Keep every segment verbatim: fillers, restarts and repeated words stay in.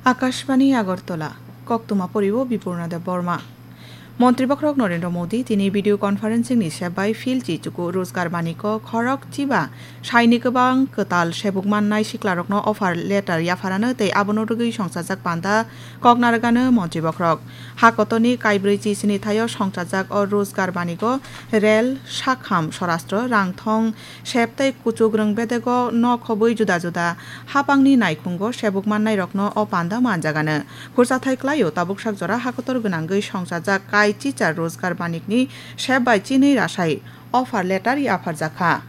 Akashbani Agartala, koktwma poriwo Bipurna Debbarma. Montri Bokhorok Narendra Modi tini video conferencing ni sep bai Phil Chichuku Rojgar Baniko khorok chiba saini kwbang kwtal sebuk mannai siklarokno offer letter yapharano tei abono rwgwi songchajak panda kok narwgano Montri Bokhorok. Ha kotorni kaibrwi chisini thaio songchajak o Rojgar Baniko rel, sakham, sorastro, rangthong, sep tei kuchukrwng bedego nok hobwi juda juda hapangni naikhungo sebuk mannairokno o panda manjagano. Khursathai klaio tabuksak jora hakotor gwnangwi songchajak kai chichar Rojgar Banikni sep bai chinwi rasai offer letter yapharjakha.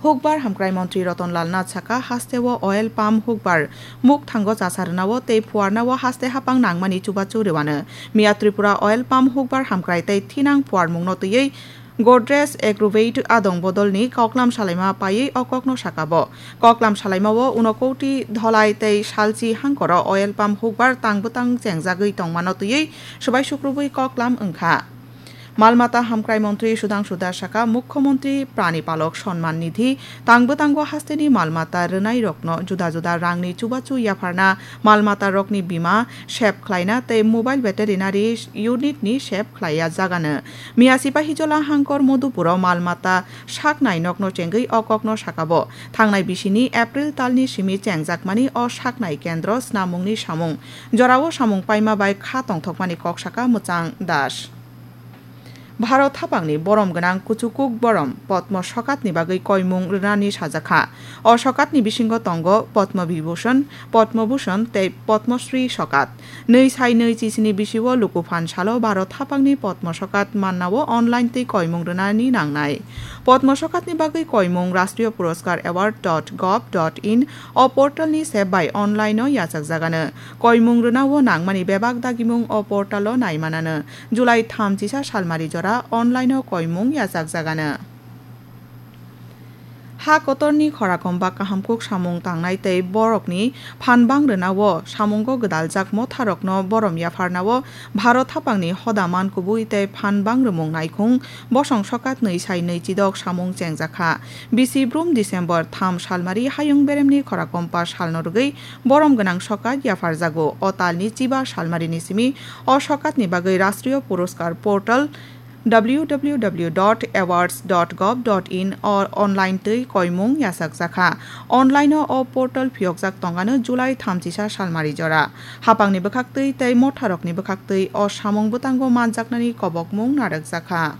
Hukbar Hamkrai Montri Roton Lal Nath saka, hasteo oil pump hukbar mukthango chasa rwnao tei phuarnao haste hapang nangmani chubachu rwano. Miya Tripura oil pump hukbar hamkrai tei thinang phuarmungno twiwi Godrej Agrovet adong bodolni koklam salaima paiwi o kokno saka bo. Koklam salaimao uno koti dholai tei salchi hangkoro oil pump hukbar tang bwtang chengjagwi tongmano twiwi swbai sukrubwi koklam wngkha. Malmata hamkrai montri Sudhangshu Das saka, Mukhyamantri Prani Palok Sonman Nidhi tang bwtango hasteni malmata rwnairokno juda juda rangni chubachu yapharna, malmatarokni bima sep khlaina tei mobile veterinary unit ni sep khlaiya jagano. Miya Sipahijola hangkor Modhupuro malmata saknai nokno chengwi o kokno sakabo. Thangnai bisini April talni simi chengjakmani o saknai kendro snamungni samung. Jorao samung paima bai kha tongthokmani kok saka Mwchang Das. Bharat hapangni borom gwnang kuchukuk borom Padma Sokatni bagwi koimung rwnani sajakha. O sokatni bisingo tongo Padma Vibhushan, Padma Bhushan tei Padma Shri sokat. Nwi sai nwi chisini bisio lukuphan salo Bharat hapangni Padma Sokat mannao online twi koimung rwnani nangnai. Padma Sokatni bagwi koimung Rashtriya Puraskar Award dot gov dot in o portalni sep bai online-o yachakjagano. Koimung rwnao nangmani bebak dagimung o portalo naimanano. July thamchisa salmari jora online-o koimung yachakjagano. Ha kotorni khorakomba kahamkuk samung tangnai tei borokni phanbang rwnao samungo gwdaljak motharokno borom yapharnao Bharat hapangni hoda man kubui tei phanbang rwmung naikhung bosong sokat nwi sai nwi chidok samung chengjakha. Bisi brum December tham salmari hayung beremni khorakomba salno rwgwi borom gwnang sokat yapharjago. O talni chiba salmarini simi o sokatni bagwi Rashtriya Puraskar portal W W W dot awards dot gov dot in o online twi koimung yachakjakha. Online-o o portal phiyokjak tongano July thamchisa salmari jora. Hapangni bwkhaktwi tei motharokni bwkhaktwi o samung bwtango manjaknani kobokmung narwkjakha.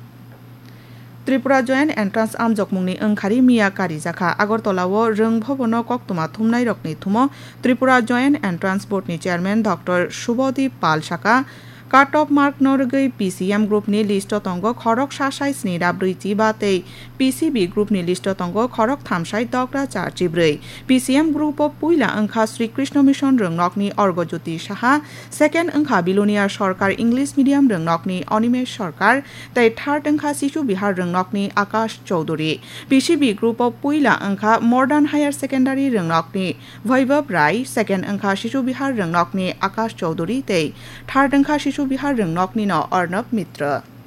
Tripura Joint Entrance amjokmungni wngkhari miya karijakha. Agartala-o Rwng Bhobono koktwma thumnairokni thumo Tripura Joint Entrance Board ni Chairman Doctor Subodip Pal saka, Cut off mark no rwgwi P C M group ni list o tongo khorok sa sai sni ra brwi chiba tei P C B group ni list o tongo khorok tham sai dok ra char chi brwi. P C M group o puila wngkha Sri Krishna Mission rwngnokni Orgojyoti Saha, second wngkha Bilonia Sorkar English Medium rwngnokni Animesh Sorkar tei third wngkha Sisu Bihar rwngnokni Akash Chowdhury. P C B group o puila wngkha Modern Higher Secondary rwngnokni Vaibhav Rai, second wngkha Sisu Bihar rwngnokni Akash Chowdhury tei third wngkha Sisu Bihar rwngnoknino Arnab Mitra.